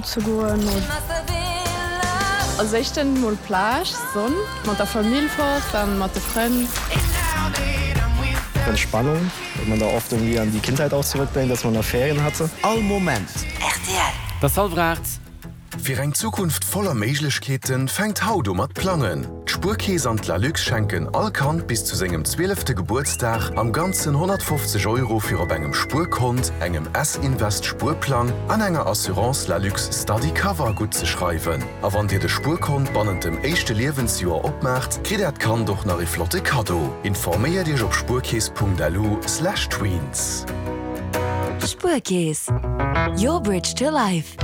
ze goen. Als éischten mol Plage, Sonn, mat der Famill fort an mat de Frënn. Entspannung, well man da oft irgendwie an die Kindheit auch zurückdenkt, dass man da Ferien hatte. All Moment. Rtl. Et ass hallwer 8. Fir eng Zukunft voller Méiglechkeeten fänkt haut u mat plangen. D'Spuerkeess an d'Lalux schenken all Kand bis zu sengem zwielefte Gebuertsdag am Ganzen 150 Euro fir op engem Spuerkont, engem S-Invest Spuerplang an enger Assurance Lalux Study Cover guttzeschreiwen. A wann dir de Spuerkont bannent dem éischte Liewensjoer opmaacht, kritt äert Kand och nach ee flotte Kaddo. Informéiert iech op spuerkeess.lu/tweens. Spuerkeess, your bridge to life.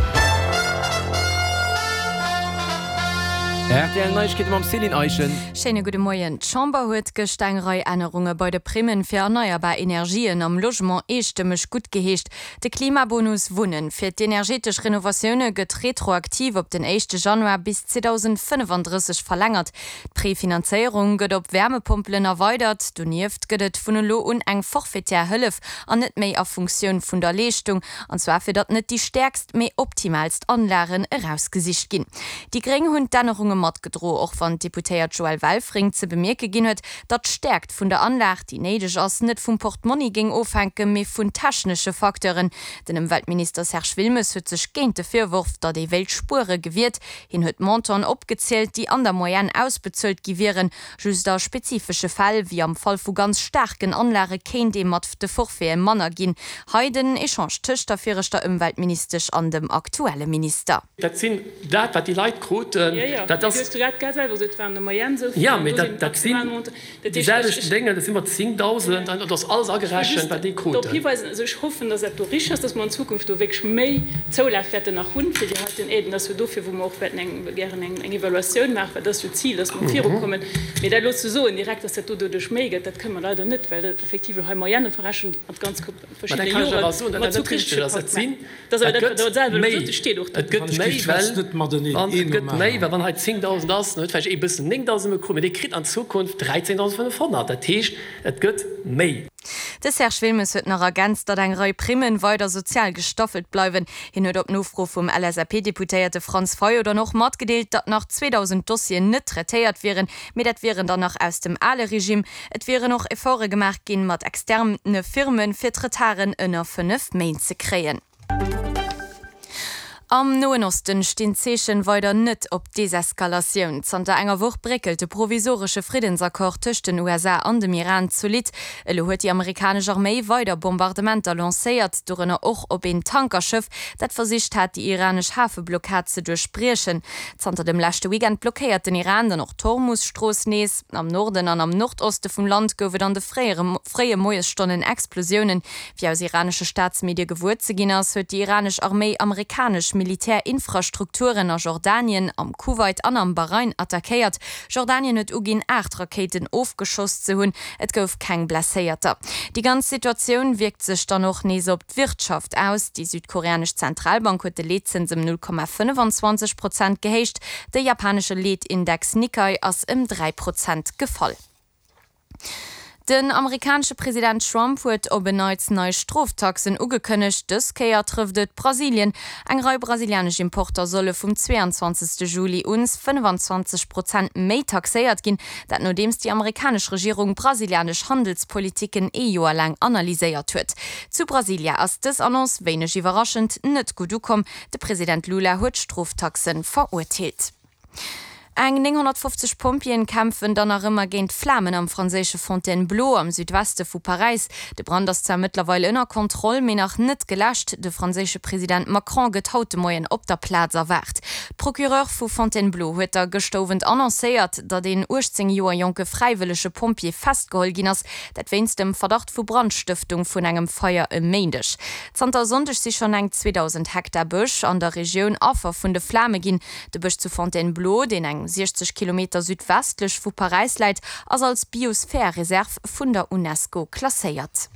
Rtl Neiegkeete mam Céline Eischen. Schéine gudde Moien. D'Chamber huet gëscht eng Rei Ännerunge bei de Primmen fir erneierbar Energien am Logement eestëmmeg guttgeheescht. De Klimabonus Wunnen fir d'energetesch Renovatioune gëtt retroaktiv op den éischte Januar bis 2035 verlängert. D'Prefinanzéierung gëtt op Wärmepompelen erweidert. Donieft gëtt et vun elo un eng forfaitaire Hëllef an net méi a Funktioun vun der Leeschtung. An zwar fir datt net déi stäerkst, mee optimaalst Anlagen erausgesicht ginn. Déi Gréng hunn d'Ännerunge matgedro, och wann d'Deputéiert Joëlle Welfring ze bemierke ginn huet, datt d'Stäerkt vun der Anlag, déi néideg ass, net vum Portmonni géing ofhänken, mee vun technesche Facteuren. Den Ëmweltminister Serge Wilmes huet sech géint de Virworf, datt ee wéilt spuere, gewiert. Hien huet Montanten opgezielt, déi an der Moyenne ausbezuelt gi wieren. Just a spezifesche Fäll, wéi am Fall vu ganz staarken Anlage kéint ee mat de Forfaite manner ginn. Hei den Echange tëscht der viregter Ëmweltministesch an dem aktuelle Minister. Dat sinn dat, wat déi Leit kruten. Dat ass, jo, mee dat sinn déi selwecht Déngen, dat si mat 10.000, an dat ass alles agerechent, wat déi kruten. Ech hoffen, dass dat do richtig ass, dass mer an Zukunft do wierklech méi Zoulaf wäerten nach hunn fir déi heiten Aiden. Dat ass jo dofir, wou mer och wäerten eng, gären eng, eng Evaluatioun maachen, well dat ass jo d'Zil, dass mer virukommen. Mee dat elo ze soen direkt, dass dat do doduerch méi gëtt, dat kënne mer leider net, well dat effektiv elo hei Moyenne verrechent mat ganz Mä da verschiddene kann ech awer Joren, soen, datt mat dat zu net richtig richtege ass. Et sinn, Dat ass awer et dat, wat gëtt Der selwer elo méi, gesot hutt, steet och do. et gëtt méi, well wann, et gëtt méi, well wann hei 10.000 ass, dann huet vläicht ee bëssen 9.000 bekomm, mee dee kritt an Zukunft 13.500. Dat heescht, et gëtt méi. De Serge Wilmes huet nach ergänzt, datt eng Rei Primmen weider sozial gestaffelt bleiwen. Hien huet op Nofro vum LSAP-Deputéierte Franz Fayot dann och matgedeelt, datt nach 2.000 Dossieren net traitéiert wieren, mee dat wieren dann nach aus dem ale Regime. Et wieren och Efforte gemaach ginn, mat externe Firmen, fir d'Retarden ënner 5 Méint ze kréien. Am Noen Osten stinn d'Zeechen weider net op Deseskalatioun. Zanter enger Woch bréckelt de provisoresche Friddensaccord tëscht den USA an dem Iran zolidd. Elo huet déi amerikanesch Arméi weider Bombardementer lancéiert, dorënner och op een Tankerschëff, dat versicht hat, déi iranesch Hafeblockad ze duerchbriechen. Zanter dem leschte Weekend blockéiert den Iran dann och d'Hormus-Strooss nees. Am Norden an am Nordoste vum Land gouf et an de fréie Moiesstonnen Explosiounen. Wéi aus iranesche Staatsmedie gewuer ze ginn ass, huet déi iranesch Arméi amerikanesch Militärinfrastrukturen a Jordanien, am Kuwait an am Bahrain attackéiert. Jordanien huet uginn, 8 Rakéiten ofgeschoss ze hunn. Et gouf keng Blesséierter. Déi ganz Situatioun wierkt sech dann och nees op d'Wirtschaft aus. Déi südkoreanesch Zentralbank huet de Leetzëns ëm 0,25 Prozent gehéicht. De japanesche Leetindex Nikkei ass ëm 3 Prozent gefall. Den amerikanesche President Trump huet op en Neits nei Stroftaxen ugekënnegt. Dës Kéier trëfft et Brasilien. Eng Rei brasilianesch Importer solle vum 22 Juli un 25 Prozent méi taxéiert ginn. Dat nodeems déi amerikanesch Regierung brasilianesch Handelspolitiken ee Joer laang analyséiert huet. Zu Brasilia ass dës Annonce, wéineg iwwerraschend, net gutt ukomm. De President Lula huet d'Stroftaxe verurteelt. Eng 950 Pompjeeën kämpfen dann nach ëmmer géint d'Flamen am franséische Fontainebleau am Südweste vu Paräis. De Brand ass zwar mëttlerweil ënner Kontroll, mee nach net geläscht. De franséische President Macron gëtt haut de Moien op der Plaz erwaart. D'Procureur vu Fontainebleau huet da gëschter Owend annoncéiert, datt een 18 Joer jonke fräiwëllege Pompjee festgeholl ginn ass, dat wéinst dem Verdacht vu Brandstëftung vun engem Feier e Méindeg. Zanter e Sonndeg si schonn eng 2.000 Hektar Bësch an der Regioun Affer vun de Flame ginn. De Bësch zu Fontainebleau, deen eng 60 Kilometer südwestlech vu Paräis läit, ass als Biosphärereserv vun der Unesco klasséiert.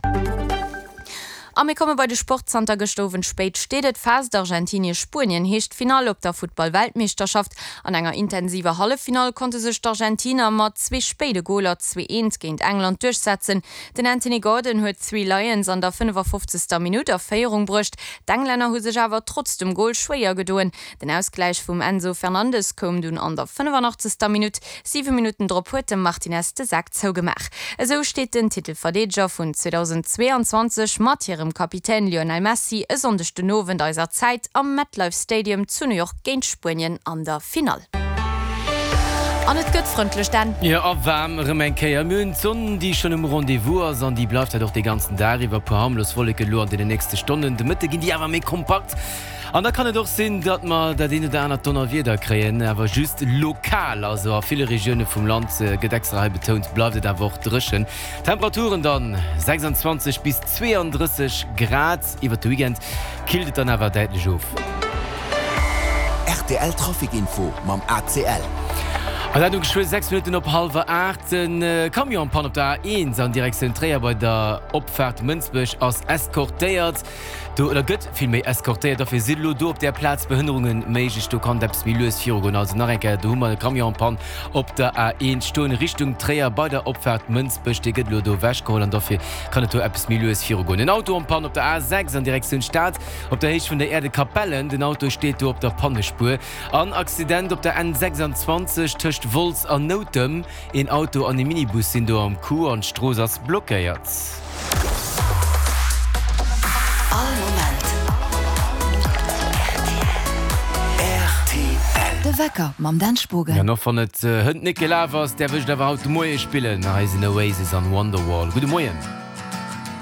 A mir komme bei de Sport, Zanter gëschter Owend spéit steet et fest, Argentinie-Spuenien heescht d'Finall op der Futtball-Weltmeeschterschaft. An enger intensiver Halleffinall konnte sech d'Argentiner mat zwee spéide Goler 2, 1 géint England duerchsetzen. Den Anthony Gordon huet d'Three Lions an der 55. Minutt a Féierung bruecht. D'Englänner hu sech awer trotz dem Gol schwéier gedoen. Den Ausgläich vum Enzo Fernandes koum dunn an der 85. Minutt. 7 Minutten drop huet de Martinez de Sak zougemaach. Esou steet den Titelverdeedeger vun 2022 mat hirem Kapitän Lionel Messi e Sonndeg den Owend eiser Zäit am MetLife Stadium zu New York géint Spuenien an der Finall. An et gëtt frëndlech, Dan. Jo, a waarm erëm eng Kéier. Mir hunn d'Sonn, déi schonn um Rendez-vous ass an déi bleift dat och de ganzen Dag iwwer. Puer harmlos Wolleken elo an deenen nächste Stonnen. De Mëtte ginn déi awer méi kompakt an da kann et och sinn, datt mer dat eent oder anert Donnerwieder kréien, awer just lokal. Also a ville Regioune vum Land, gëtt extra hei betount, bleift et awer och dréchen. Temperaturen dann 26 bis 32 Grad. Iwwert de Weekend killt et dann awer däitlech of. Rtl Trafic Info mam ACL. An dat um geschwë 6 Minutten op hallwer 8. Den Camion en panne op der A1 an Direktioun Tréier bei der Opfaart Mënsbech ass eskortéiert. Do, oder gëtt villméi eskortéiert. Dofir sinn elo do op där Plaz Behënnerunge méiglech. Do kann et eppes méi lues virugoen. Also nach eng Kéier, do hu mer e Camion en panne op der A1 stoen Richtung Tréier bei der Opfaart Mënsbech. Dee gëtt elo do ewechgeholl an dofir kann et do eppes méi lues virugoen. En Auto en panne op der A6 an Direktioun Stad op der Héicht vun der Äerdekapellen. Den Auto steet do op der Pannespuer. An Accident op der N26 tëscht Wolz an Noutem. Een Auto an e Minibus sinn do am Coup an d'Strooss ass blockéiert. All Moment rtl. De Wecker mam Dan Spogen. An och wann et hënt net gelaf ass, däerf ech et awer haut de Moie spillen. Hei sinn Oasis an Wonderwall. Gudde Moien.